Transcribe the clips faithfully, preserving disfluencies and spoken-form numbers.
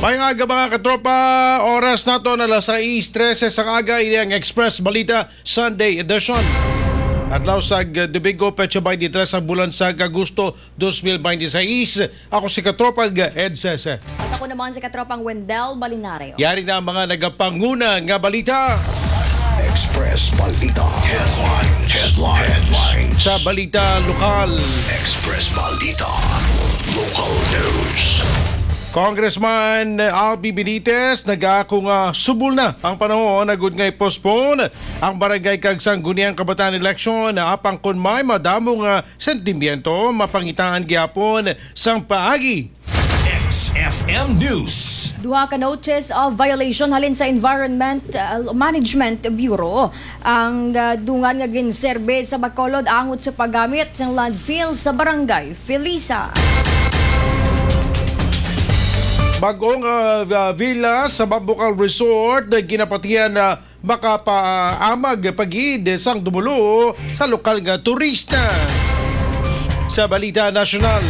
Maayong aga, mga katropa. Oras naton alas sais trese sang aga. Ini ang Express Balita Sunday Edition. Adlaw sa Domingo, petsa twenty-three ang bulan sa Agosto, dos mil bente seis. Ako si Katropang Ed Sese. At ako naman si Katropang Wendell Balinario. Yari na ang mga nagapanguna nga balita. Express Balita Headlines. Headlines. Headlines. Sa balita lokal. Express Balita Local News. Congressman Albi Benitez nag-aako nga subol na ang panahon agud nga i-postpone ang barangay kag sangguniang kabataan election, apang kon may madamo nga sentimiento, mapangitaan gyapon sang paagi. X F M News. Duha ka notice of violation halin sa Environment, uh, Management Bureau ang, uh, dungan nga ginserbe sa Bacolod angot sa paggamit sang landfill sa Barangay Felisa. Bag-ong, uh, uh, villa sa Bambucal Resort, uh, ginapatihan na makapaamag pa gid sang dumulo sa lokal nga turista. Sa balita nasyonal.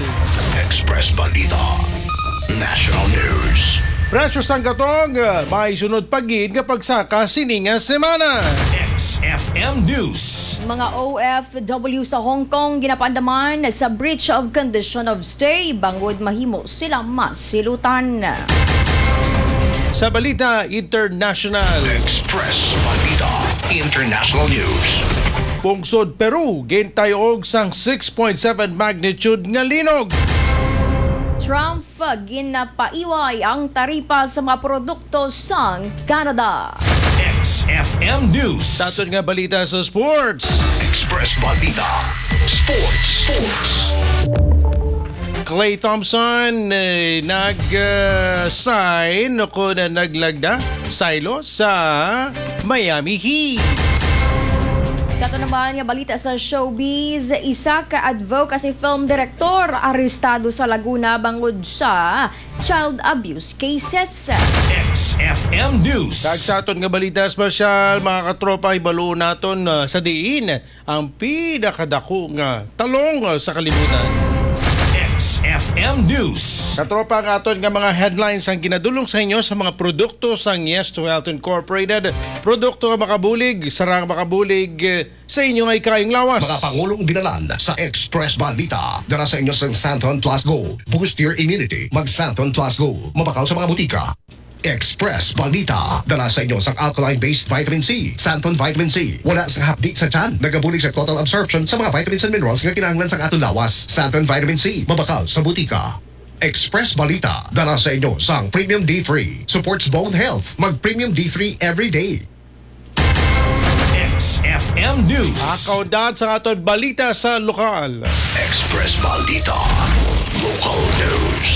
Express Balita National News. Presyo sang gatong, may sunod pa gid nga pagsaka sini nga semana. X F M News. Mga O F W sa Hong Kong ginapaandaman sa breach of condition of stay bangod mahimo sila masilutan. Sa balita international. Express Balita International News. Pungsod Peru gintayog sang six point seven magnitude nga linog. Trump ginapaiway ang taripa sa mga produkto sang Canada. X F M News. Sa aton nga balita sa sports. Express Balita Sports. Sports. Klay Thompson, eh, nag, ah, sign o kon naglagda, saylo sa Miami Heat. Sa ato naman nga balita sa showbiz, isa ka advocacy film director arestado sa Laguna bangod sa child abuse cases. X F M News. Kag sa aton nga balita espesyal, mga katropa, hibaluon naton, ah, sa diin ang pinakadako nga talong, ah, sa kalibutan. X F M News. Katropa, ang aton nga mga headlines ang ginadulong sa inyo sa mga produkto sang Yes to Health Incorporated. Produkto nga makabulig, sarang makabulig, eh, sa inyo nga ikayong lawas. Mga pangulong binalan sa Express Balita. Dala sa inyo sang Santon Plus Go. Boost your immunity. Mag Santon Plus Go. Mabakal sa mga butika. Express Balita. Dala sa inyo sang alkaline-based vitamin C. Santon Vitamin C. Wala sang hapdi sa tiyan. Nagabulig sa total absorption sa mga vitamins and minerals nga kinahanglan sang aton lawas. Santon Vitamin C. Mabakal sa butika. Express Balita. Dala sa inyo sang Premium D three. Supports bone health. Mag Premium D three every day. X F M News. Ang kaundahan sa aton balita sa lokal. Express Balita. Local News.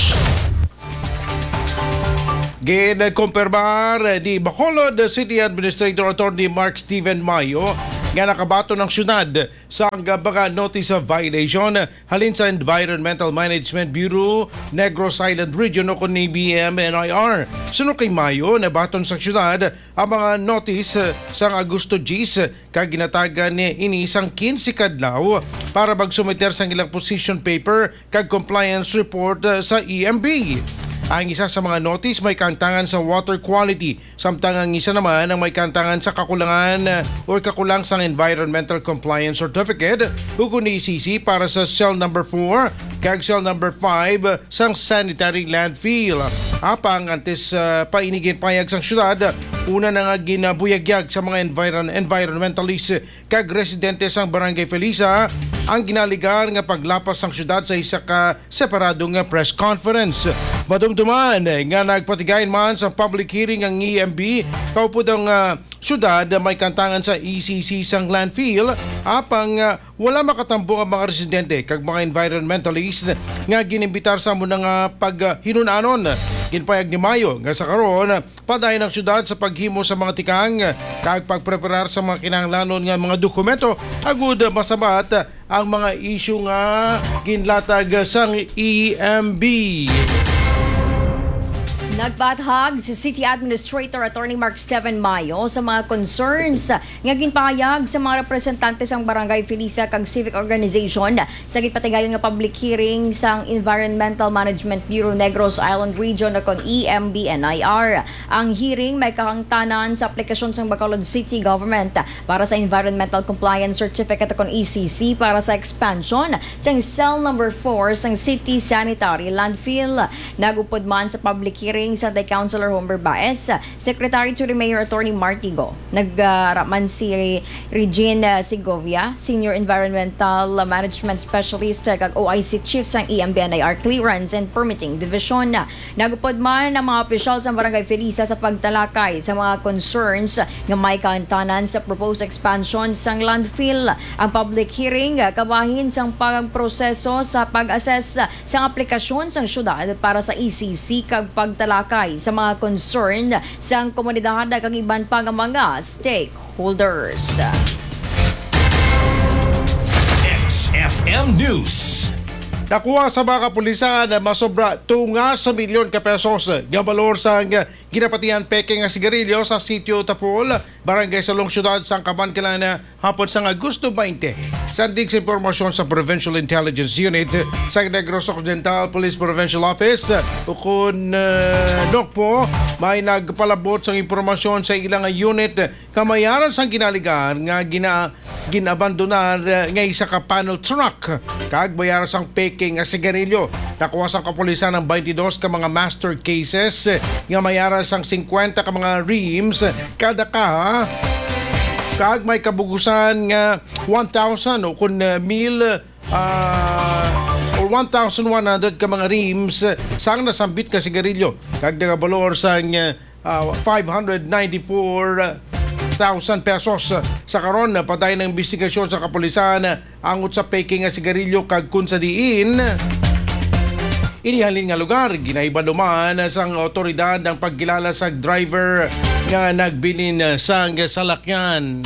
Ginkumpirmar ni Bacolod City Administrator Attorney Mark Steven Mayo nga nakabaton ang syudad sang mga notice of violation halin sa Environmental Management Bureau, Negros Island Region, o kon A B M N I R. Suno kay Mayo, nabaton sa syudad ang mga notice, eh, sang Agosto diyes, eh, kag ginatagan ni ini sang quince ka adlaw para magsumiter sang ilang position paper kag compliance report, eh, sa E M B. Ang isa sa mga notice may kaangtangan sa water quality, samtang ang isa naman ang may kaangtangan sa kakulangan, eh, or kakulang sang environmental compliance certificate, ukon ni E C C para sa cell number four kag cell number five, sang sanitary landfill. Apang antes, ah, pa ini ginpahayag sang syudad, una na nga ginabuyagyag sa mga environ-, environmentalist kag residente sang Barangay Felisa ang ginaligar nga paglapas sang syudad sa isa ka separado nga press conference. Madumduman nga nagpatigayon man sa public hearing ang E M B, kaupod ang, ah, syudad may kaangtangan sa E C C sang landfill, apang, ah, wala makatambong ang mga residente kag mga environmentalist nga ginimbitar sa amo na nga paghinunanon. Ginpayag ni Mayo nga sa karon, padayon ang syudad sa paghimo sa mga tikang kag pagpreparar sa mga kinahanglanon nga mga dokumento agud masabat ang mga isyu nga ginlatag sang E M B. Nagpahayag si City Administrator Attorney Mark Steven Mayo sa mga concerns nga ginpahayag sa mga representante sang Barangay Felisa kag civic organization sa ginpatigayong nga public hearing sang Environmental Management Bureau Negros Island Region o kon E M B N I R. Ang hearing may kahangtanan sa aplikasyon sang Bacolod City Government para sa Environmental Compliance Certificate o kon E C C para sa expansion sang cell number four sang City Sanitary Landfill. Nag-upod man sa public hearing si Councilor Homer Baez, Secretary to the Mayor Attorney Mark Tigo. Nagara man si Regine, uh, Segovia, Senior Environmental Management Specialist, uh, kag O I C Chief sang E M B N I R Clearance and Permitting Division. Nag-upod man ang mga opisyal sa Barangay Felisa sa pagtalakay sa mga concerns nga may kahangtanan sa proposed expansion sang landfill. Ang public hearing, uh, kabahin sang pagproseso sa pag-assess sang aplikasyon sang syudad para sa E C C kag pagtalakay sa mga concern sang komunidad kag iban pa nga mga stakeholders. X F M News. Nakuha sa mga kapulisan ang masobra tunga sa milyon ka pesos nga balor sang ginapatihan peke nga sigarilyo sa Sitio Tapol, Barangay Salong, Siyudad sang Kabankalan, hapon sang Agosto twenty. Sandig sa impormasyon sa Provincial Intelligence Unit sa Negros Occidental Police Provincial Office, ukon, uh, NOCPO, may nagpalabot sang impormasyon sa ilang unit nga may ara sang ginaligar nga gina-, ginabandonar, uh, nga isa ka panel truck kag may ara sang peke nga sigarilyo. Nakuha sang kapulisan ang twenty-dos ka mga master cases nga may ara sang singkwenta ka mga rims kada kaha, kag may kabugusan nga one thousand o kon, uh, mil, uh, or one thousand one hundred ka mga rims sang nasambit nga sigarilyo, kag nagabalor sang, uh, uh, five hundred ninety-four thousand pesos. Sa karon, padayon ang investigasyon sa kapulisan angot sa peke nga sigarilyo kag kon sa diin ini halin nga lugar, ginahibalo man sang awtoridad ang pagkilala sa driver nga nagbilin sang salakyan.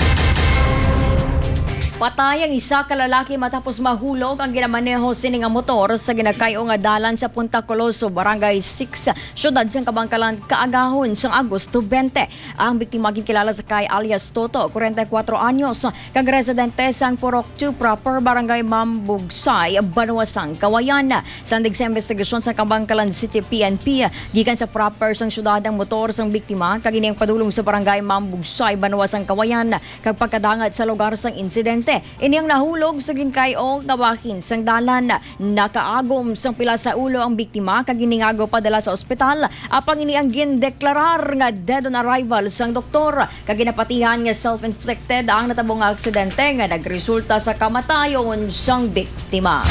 Patay ang isa ka lalaki matapos mahulog ang ginamaneho sini nga motor sa ginakay-o nga dalan sa Punta Coloso, Barangay six, siyudad sang Kabankalan, kaagahon sang Agosto twenty. Ang biktima ginkilala sa kay alias Toto, forty-four anyos, kag residente sang Purok two Proper, Barangay Mambugsay, Banwa sang Kawayan. Sandig sa investigasyon sa Kabankalan City P N P, gikan sa Proper sang siyudad ang motor sang biktima, kag ini ang padulong sa Barangay Mambugsay, Banwa sang Kawayan, kag pagkadangat sa lugar sang insidente. Ini ang nahulog sa ginkay-o nga bahin sang dalan. Nakaagom sang pila sa ulo ang biktima kag giningagaw padala sa ospital, apang ini ang gindeklarar nga dead on arrival sang doktor, kag ginapatihan nga self-inflicted ang natabo nga aksidente nga nagresulta sa kamatayon sang biktima.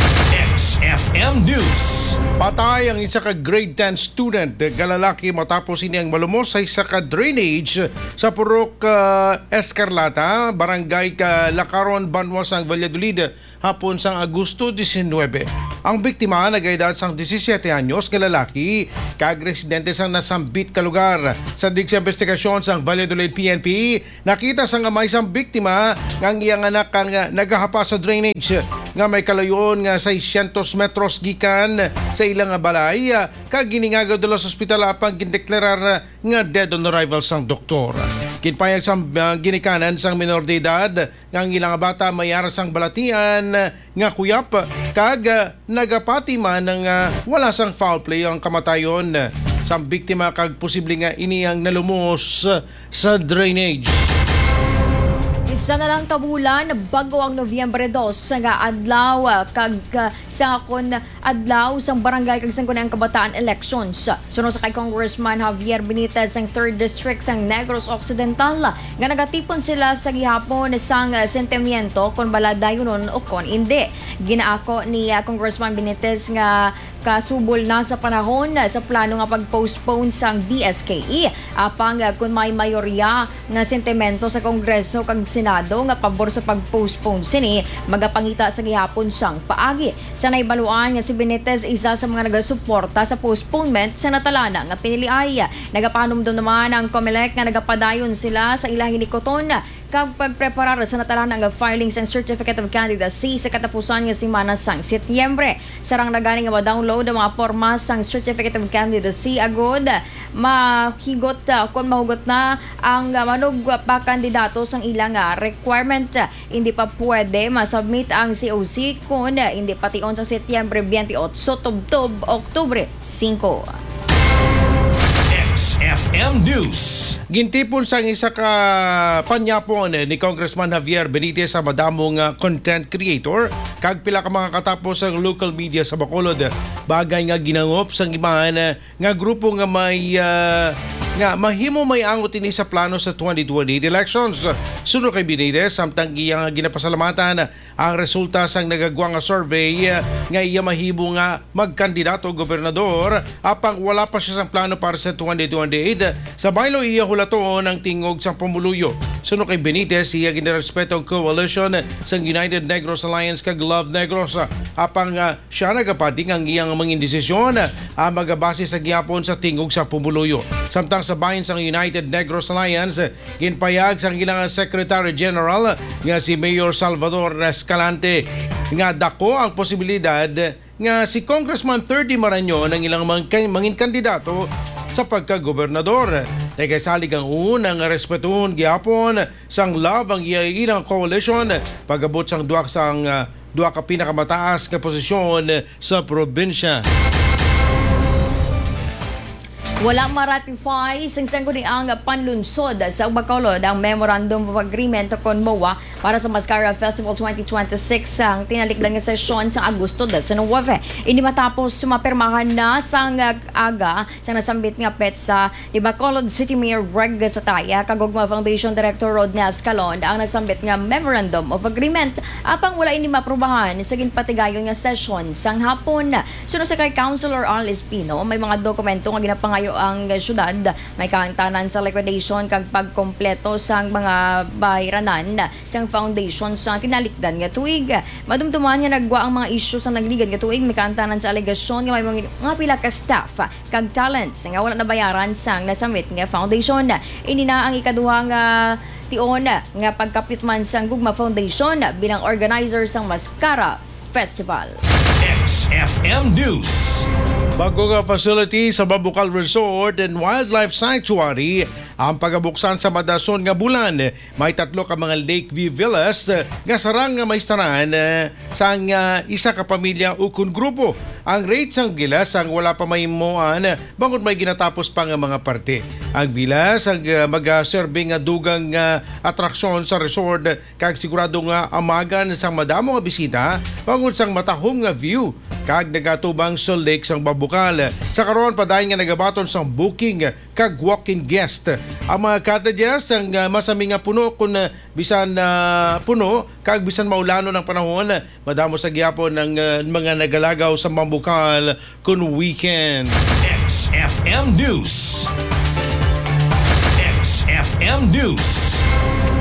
X F M News. Patay ang isa ka grade ten student nga lalaki matapos ini ang malumos sa isa ka drainage sa Purok, ah, Escarlata, Barangay Lacaron, Banwa sang Valladolid, hapon sang Agosto diecinuebe. Ang biktima nagaedad sang disisiete anyos nga lalaki kag residente sang nasambit ka lugar. Sandig sa investigasyon sang Valladolid P N P, nakita sang amay sang biktima nga ang iyang anak ang, ah, nagahapa sa drainage nga may kalayon nga seiscientos metros gikan sa ila nga balay, ah, kag giningagaw dala sa ospital, apang gindeklarar nga dead on arrival sang doktor. Ginpahayag sang, ah, ginikanan sang minor de edad nga ang ila nga bata may ara sang balatian nga kuyap, kag, ah, nagapati man nga wala sang foul play ang kamatayon sang biktima, kag posible nga ini ang nalumos sa drainage. Isa na lang ka bulan, bag-o ang Nobyembre dos nga adlaw, ah, kag, ah, sa kon adlaw sang barangay kag sangguniang kabataan elections. Suno sa kay Congressman Javier Benitez, ang third District sang Negros Occidental, nga nagatipon sila sa gihapon sang sentimiento kon bala dayunon o kon indi. Ginaako ni, ah, Congressman Benitez nga kasubol na sa panahon sa plano nga pag-postpone sang D S K E. Apang, ah, kon may mayorya nga sentimento sa Kongreso kag Senado nga pabor sa pag-postpone sini, magapangita sa gihapon sang paagi. Sa nahibaluan nga si Benitez isa sa mga nagasuporta sa postponement sa natalana nga piniliay. Nagapanumdom naman ang Comelec nga nagapadayon sila sa ila hinikuton kag pagpreparar sa natalana nga filing sang Certificate of Candidacy sa katapusan nga semana sang Setyembre. Sarang na gani nga ma-download ang mga porma sang Certificate of Candidacy agud mahigot, ah, kon mahugot na ang, ah, manugpakandidato sang ilang, ah, requirement. Hindi pa pwede ma-submit ang C O C kon hindi pa tion sang Setyembre twenty-eight tubtob Oktubre singko. X F M News. Gintipon sang isa ka panyapon ni Congressman Javier Benitez sa madamo nga content creator kag pila ka mga katapos sa local media sa Bacolod, bagay nga ginangop sang iban nga grupo nga may, ah, nga mahimo may angot ini sa plano sa twenty twenty-eight elections. Suno kay Benitez, samtang iya nga ginapasalamatan ang resulta sang nagagwa nga survey, ah, nga iya mahimo nga magkandidato gobernador, apang wala pa siya sang plano para sa twenty twenty-eight. Sa baylo, iya hulaton ang tingog sang pumuluyo. Suno kay Benitez, iya ginarespeto ang coalition sang United Negros Alliance kag Love Negros, apang, ah, siya nagapati nga ang iyang mga desisyon, ah, magabase sa gihapon sa tingog sa pumuluyo. Samtang sa bahin sang United Negros Alliance, ginpayag sang ilang Secretary General nga si Mayor Salvador Escalante nga dako ang posibilidad nga si Congressman Thirdy Marañon ang ilang mangkay-, mangin kandidato sa pagkagobernador. Nagkasalig ang una nga respetuhon gihapon sang Love ang iya ilang coalition pag-abot sang duha sang, ah, duha ka pinakamataas nga posisyon sa probinsya. Wala ma-ratify sang Sangguniang Panlunsod sa Bacolod ang Memorandum of Agreement kon MOA para sa Mascara Festival twenty twenty-six sang tinalikdan nga sesyon sa Agosto diecinuebe. Ini matapos mapirmahan na sang aga sang nasambit nga petsa ni Bacolod City Mayor Reg Sataya kag Gugma Foundation Director Rodney Escalon ang nasambit nga Memorandum of Agreement, apang wala ini maaprubahan sa ginpatigayon nga sesyon sang hapon. Suno sa kay Councilor Al Espino, may mga dokumento nga ginapangayo ang syudad, may kaangtanan sa liquidation kag pagkompleto sang mga bayranan sang foundation sa tinalikdan nga tuig. Madumduman nga nagwa ang mga isyu sa nagligad nga tuig, may kaangtanan sa alegasyon nga may mga, mga pila ka staff kag talents nga wala nabayaran sang nasambit nga foundation. Ini na ang ikaduha nga tion nga pagkapyutman sang Gugma Foundation bilang organizer sang Mascara Festival. X F M News. Bago nga facility sa Babukal Resort and Wildlife Sanctuary ang pagabuksan sa madason nga bulan. May tatlo ka mga lake view villas, eh, nga sarang nga maistaran, eh, sang, ah, isa ka pamilya ukon grupo. Ang rate sang villa sang wala pa mahimuan, eh, bangod may ginatapos pa nga mga parte. Ang villa sang, ah, magaserbi nga dugang nga atraksyon sa resort, eh, kag sigurado nga amagan sang madamo nga bisita bangod sang matahom nga view kag nagatubang sa lake sang Babukal. Sa karon, padayon nga nagabaton sang booking kag walk-in guest. Ang mga cottages ang, ah, masami nga puno kun, ah, bisan, ah, puno kag bisan maulanon ang panahon, madamo sa gihapon ang, ah, mga nagalagaw sa Babukal kun weekend. X F M News. X F M News.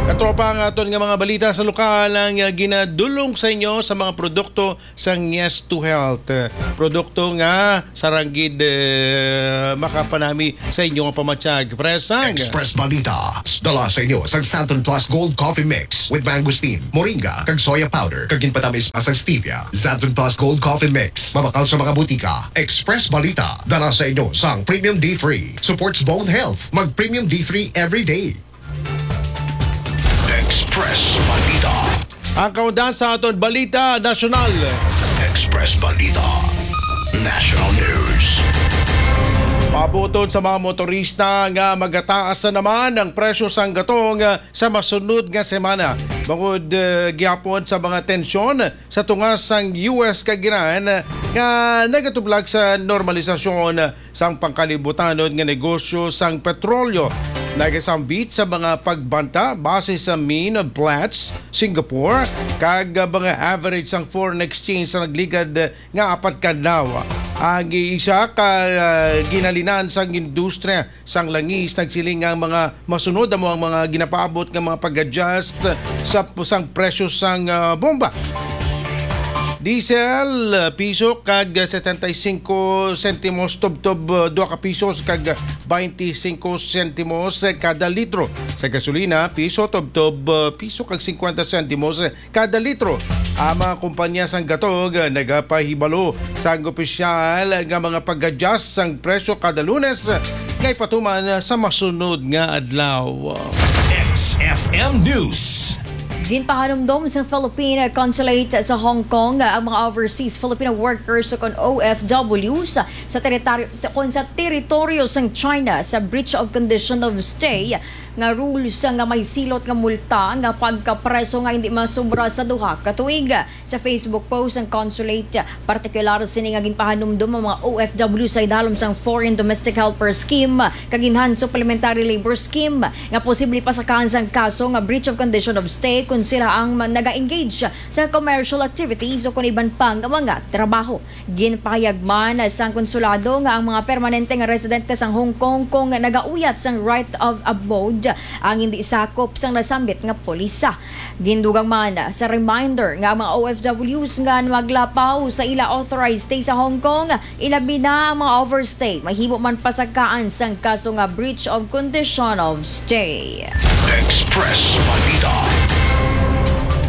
Katropa, ang aton nga mga balita sa lokal ang, ah, ginadulong sa inyo sa mga produkto sa Yes to Health. Produkto nga sarang gid, eh, makapanami sa inyo nga pamatyag. Presang. Express Balita. Dala sa inyo sang Xanthone Plus Gold Coffee Mix with mangosteen, moringa, kag soya powder, kag ginpatamis pa sang stevia. Xanthone Plus Gold Coffee Mix. Mabakal sa mga butika. Express Balita. Dala sa inyo sang Premium D three. Supports bone health. Mag Premium D three every day. Express Balita. Ang kaundan sa aton balita nasyonal. Express Balita National News. Pabuton sa mga motorista nga magataas na naman ang presyo sang gatong sa masunod nga semana. Bangod, eh, gihapon sa mga tensyon sa tunga sang U S kag Iran nga nagatublag sa normalisasyon sang pangkalibutanon nga negosyo sang petrolyo, nagasambit sa mga pagbanta base sa mean of Platts, Singapore, kag mga average sang foreign exchange sa nagligad nga apat ka adlaw. Ang isa ka, ah, ginhalinan sang industriya sang langis nagsiling nga ang mga masunod amo ang mga ginapaabot nga mga pag-adjust sa pusang presyo sang, ah, bomba. Diesel, piso kag setenta y cinco sentimos tubtob, uh, dua ka pisos kag bainti singko sentimos kada litro. Sa gasolina, piso tubtob, uh, piso kag singkwenta sentimos kada litro. Ang mga kumpanya sang gatog nagapahibalo sang opisyal nga mga pag-adjust sang presyo kada Lunes nga ipatuman sa masunod nga adlaw. X F M News. Ginpahanumdom sa Philippine Consulate sa Hong Kong ang mga overseas Filipino workers o kon O F Ws sa teritoryo, kon sa teritoryo sang China sa breach of condition of stay nga rules nga may silot nga multa nga pagkapreso nga hindi masubra sa duha ka tuig. Sa Facebook post ang consulate, partikular sini nga ginpahanumdom ang mga O F W sa idalom sang Foreign Domestic Helper Scheme kag Enhanced Supplementary Labor Scheme nga posible pasakaan sang kaso nga breach of condition of stay kon sila ang man-, naga-engage sa commercial activities o kon iban pa nga mga trabaho. Ginpahayag man sang konsulado nga ang mga permanente nga residente sang Hong Kong kon nagauyat sang right of abode ang hindi sakop sang nasambit nga polisa. Gindugang man sa reminder nga ang mga O F Ws nga maglapaw sa ila authorized stay sa Hong Kong, ilabi na ang mga overstay, mahimo man pasakaan sang kaso nga breach of condition of stay. Express Balita.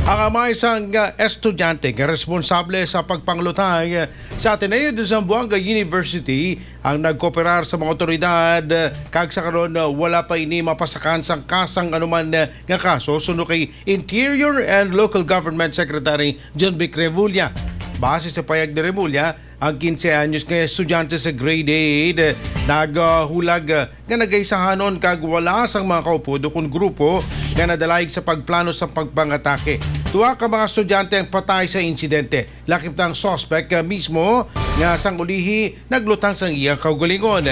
Ang amay sang, uh, estudyante nga responsable sa pagpanglutang, uh, sa Ateneo de Zamboanga University ang nagkooperar sa mga otoridad, uh, kag sa karon, uh, wala pa ini mapasakan sang kasang anuman, uh, nga kaso, suno kay Interior and Local Government Secretary John Vic Remulla. Base sa payag ni Remulla, ang quince anyos nga estudyante sa grade eight, eh, naghulag, eh, nga nagaisahanon kag wala sang mga kaupod ukon grupo nga nadalayog sa pagplano sa pagpangatake. Duha ka mga estudyante ang patay sa insidente. Lakip na ang suspect, eh, mismo nga sang ulihi naglutang sang iya kaugalingon.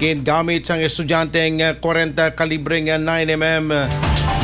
Gingamit sang estudyante ang, eh, kwarenta kalibre nga nine M M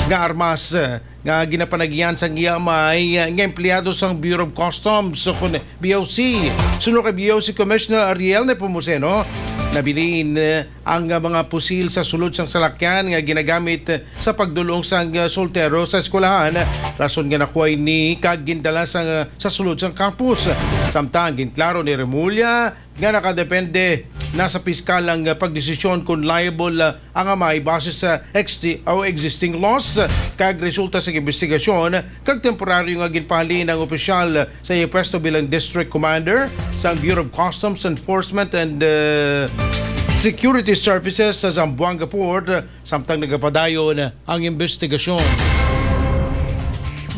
nga armas, eh, nga ginapanagian sang iya amay, eh, nga empleyado sang Bureau of Customs o kon B O C. Suno kay B O C Commissioner Ariel Nepomuceno, nabilin, eh, ang, eh, mga pusil sa sulod sang salakyan nga ginagamit, eh, sa pagdul-ong sang, eh, soltero sa eskwelahan, rason nga nakuha ini kag gindala sang, eh, sa sulod sang campus. Samtang ginklaro ni Remulla nga nakadepende na sa piskal ang, ah, pagdesisyon kon liable, ah, ang amay base sa ex-, o existing laws, ah, kag resulta sa investigasyon kag temporaryo nga ginpahalin ang opisyal, ah, sa iya pwesto bilang District Commander sang Bureau of Customs Enforcement and, ah, Security Services sa Zamboanga Port, ah, samtang nagapadayon ang investigasyon.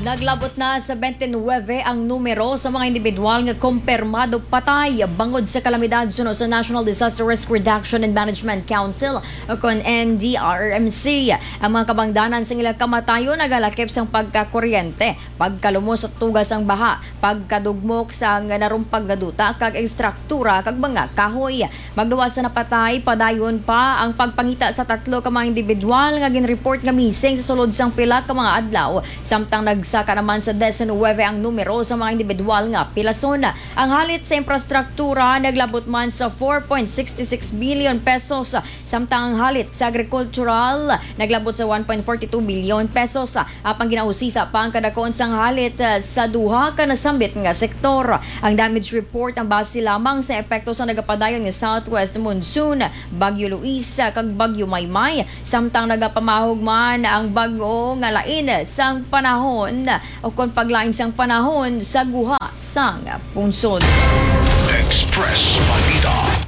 Naglabot na sa twenty-nine ang numero sa mga individual nga kumpirmado patay bangod sa kalamidad suno sa National Disaster Risk Reduction and Management Council o kon N D R R M C. Ang mga kabangdanan sa ilang kamatayon nagalakip sang pagkakuryente, pagkalumos sa tugas sang baha, pagkadugmok sang narumpag nga duta kag estruktura kag mga kahoy. Magluwas sa napatay, padayon pa ang pagpangita sa tatlo ka mga individual nga ginreport nga missing sa sulod sang pila ka mga adlaw, samtang nagsaka naman sa diecinuebe ang numero sa mga individual nga pilason. Ang halit sa infrastruktura naglabot man sa four point six six billion pesos, samtang ang halit sa agrikultural naglabot sa one point four two billion pesos. Apang ginausisa pa ang kadakuan sang halit, ah, sa duha ka nasambit nga sektor. Ang damage report ang base lamang sa epekto sa nagapadayon nga southwest monsoon, Bagyo Luis, ah, kag Bagyo Maymay, samtang nagapamahog man ang bag-o nga lain sang panahon o kon paglain sang panahon sa guha sang pungsod. Express Balita.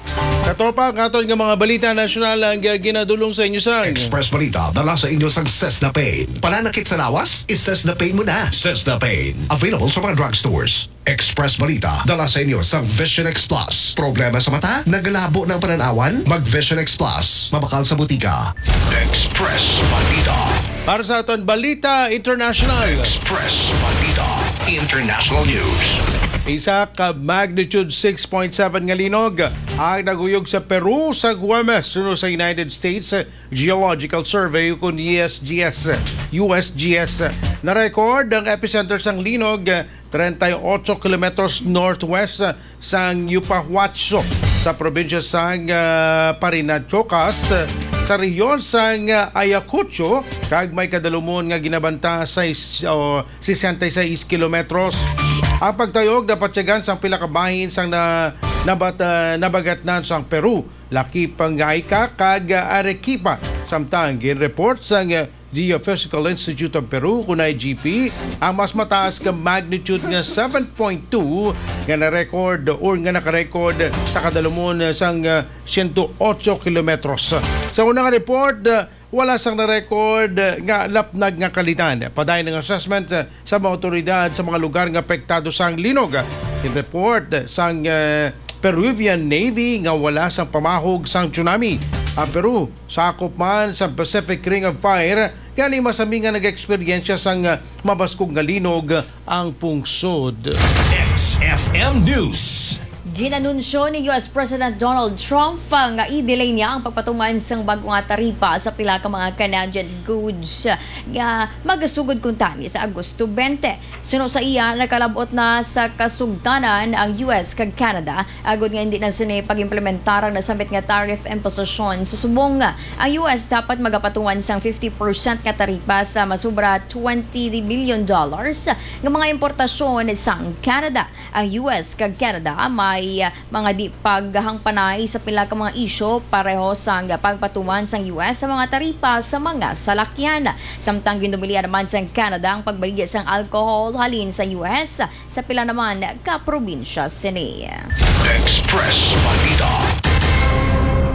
Katropa, ang aton nga mga balita nasyonal ang, ah, ginadul-ong sa inyo sang Express Balita, dala sa inyo sang Sesna Pain. Pananakit sa lawas? I-Sesna Pain mo na. Sesna Pain. Available sa mga drugstores. Express Balita, dala sa inyo sang Vision X Plus. Problema sa mata? Nagalabo na ang panan-awan? Mag Vision X Plus. Mabakal sa butika. Express Balita. Para sa aton balita international. Express Balita International News. Isa ka magnitude six point seven nga linog ang naguyog sa Peru sa Huwebes, suno sa United States Geological Survey, kun U S G S, U S G S. Na-record ang epicenter sang linog treinta y ocho kilometros northwest sang Yupahuacho sa probinsya sang, ah, Parinachocas, sa rehiyon sang, ah, Ayacucho, kag may kadalumon nga ginabanta sa is-, o, sesenta y seis kilometros. Ang pagtayog napatyagan sang pila ka bahin sang na, nabat-, ah, nabagatnan sang Peru, Laquipa, Ngaica kag, ah, Arequipa. Samtang ginreport sang, ah, Geophysical Institute of Peru, kun I G P, ang mas mataas nga magnitude nga seven point two nga na-record or nga naka-record sa kadalumon sang, ah, siyento otso kilometros. Sa unang report, ah, wala sang na-record, ah, nga lapnag nga kalitan. Padayon ang assessment, ah, sa mga awtoridad sa mga lugar nga apektado sang linog. Ginreport sang, ah, Peruvian Navy nga wala sang pamahog sang tsunami. Ang Peru sakop man sa Pacific Ring of Fire, gani masami nga nag-eksperyensya sang mabaskog nga linog ang pungsod. X F M News. Ginanunsyo ni U S President Donald Trump nga i-delay niya ang pagpatuman sang bag-o nga taripa sa pila ka mga Canadian goods nga magasugod kuntani sa Agosto twenty. Suno sa iya, nakalab-ot na sa kasugtanan ang U S kag Canada agod nga hindi na sini pag-implementar ang nasambit nga tariff imposition. Sa subong, ang U S dapat magapatuman sang fifty percent nga taripa sa masubra twenty billion dollars nga mga importasyon sang Canada. Ang U S kag Canada may mga di paghangpanay sa pila ka mga isyu, pareho sang pagpatuman sang U S sa mga taripa sa mga salakyan. Samtang ginumilian naman sang Canada ang pagbaligya sang alcohol halin sa U S sa pila naman ka probinsya sini. Express Balita.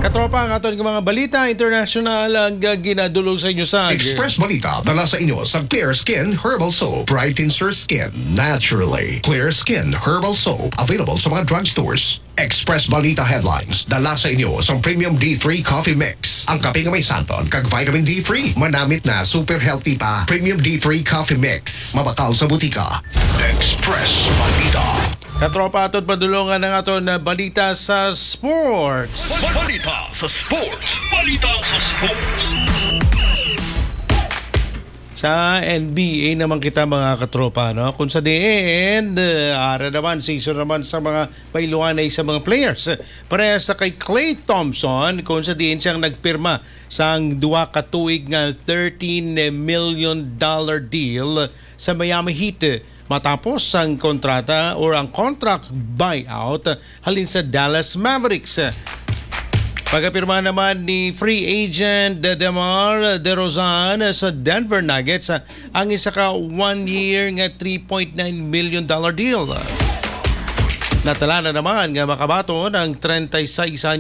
Katropa, ang aton nga mga balita international ang, ah, ginadulog sa inyo sa Express Balita, dala sa inyo sa Clear Skin Herbal Soap. Brightens your skin naturally. Clear Skin Herbal Soap, available sa mga drugstores. Express Balita Headlines, dala sa inyo sang Premium D three Coffee Mix. Ang kape nga may santon kag vitamin D three, manamit na, super healthy pa. Premium D three Coffee Mix, mabakal sa butika. Express Balita. Katropa, aton padulungan ang aton na balita sa sports. Balita sa sports. Balita sa sports. Sa N B A naman kita, mga katropa, no? Kung sa diin, eh, ara naman, season naman sa mga pailuanay sa mga players. Parehas sa kay Klay Thompson, kung sa diin siyang nagpirma sang duha ka tuig nga thirteen million dollar deal sa Miami Heat, matapos ang kontrata or ang contract buyout halin sa Dallas Mavericks. Pagkapirma naman ni free agent DeMar DeRozan sa Denver Nuggets ang isa ka one-year nga three point nine million dollar deal. Natala na naman nga makabaton ang treinta y seis anyos